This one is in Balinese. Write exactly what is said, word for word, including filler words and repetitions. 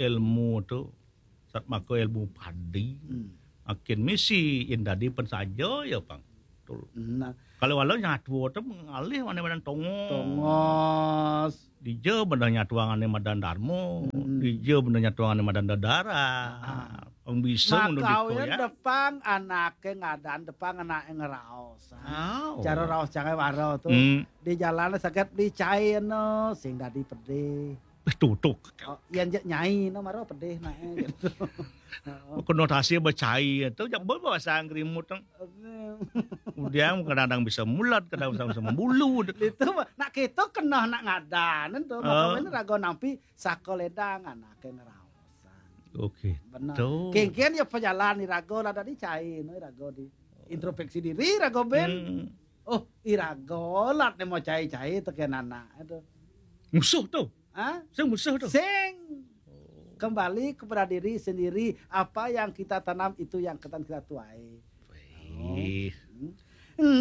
ilmu tu, sat maka ilmu padi. Hmm. Makin misi in dadi pen saja ya, pang. Betul. Nah. Kalau walau nyatua tu mengalih mana badan tongos. Tongos. Dija benda nyatua ngane madan darma. Hmm. Dija benda nyatua ngane madan dadara. Ah. Pang bisa. Maka ya. Depang anake ngadan, depang anake ngeraos. Oh. Cara raos cangai waro tu. Hmm. Di jalan saget beli cai no, sing dadi pedih. Eh, tutuk. Oh, yang je nyai no maro pedih nak, eh, gitu. Konotasi becai tu, jak bahasa Inggris mutang. Kemudian kadang-kadang bisa mulat, kadang bisa, bisa membulu. Itu nak kita kena nak ngadan tu. Maka ini raga nampi saka ledang anake ngeraosan. Okey. Benar. Kengken ya pejalan iraga lah dadi cai no, iraga di introspeksi diri, iraga ben. Hmm. Oh, iraga lah nemo cai-cai teken anak itu. Musuh tu. Ha? Sing musuh tu. Sing. Kembali kepada diri sendiri, apa yang kita tanam itu yang akan kita tuai. Wih. Hmm. Enggak.